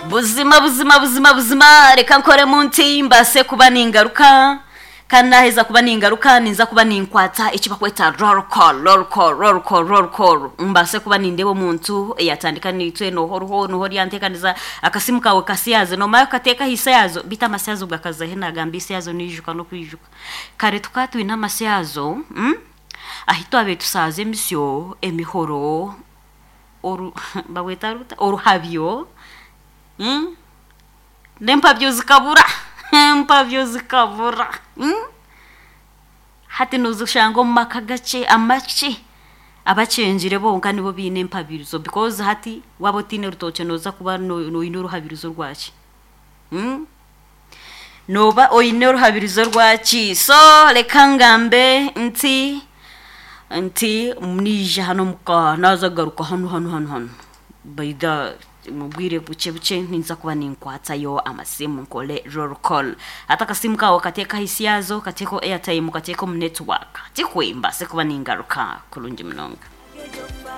Buzima buzima buzima buzima reka nkoremu nti mbaase kuba ningaruka kandi naheza kuba ningaruka ninza kuba ninkwata eki bakweta roll call roll call roll call roll call mbaase kuba nindeeba omuntu eyatandika naitwe noha oriho noha oryanteekaniza akasimu kawe kasiyaze nomara kukateeka aha isyazo beitu amasyazo gakazahe nagamba isyazo niijuka n'okwijuka kare tukaba twine amasyazo mm? ahi twabaire tusaaza emisyo emihoro oru babweta ruta oruhabyo mm? n'empabyo zikabura empabyo zikabura mm? Hati nozishanga omu maka gakye amakye abakyengire bonka nibo baine empabirizo because hati waaba otaine rutookye nooza kuba oine oruhabirizo rwaki mm? Nooba oine oruhabirizo rwaki so reka ngambe nti nti naija hanu omuka naaza kugaruka hanu hanu hanu hanu by the omu bwire bukye bukye ninza kuba ninkwatayo amasimu nkore roll call. Hati akasimu kaawe okateeke aha isyazo, okateeke airtime, okateeke omu network tikwe mbaase kuba ningaruka kurungi munonga.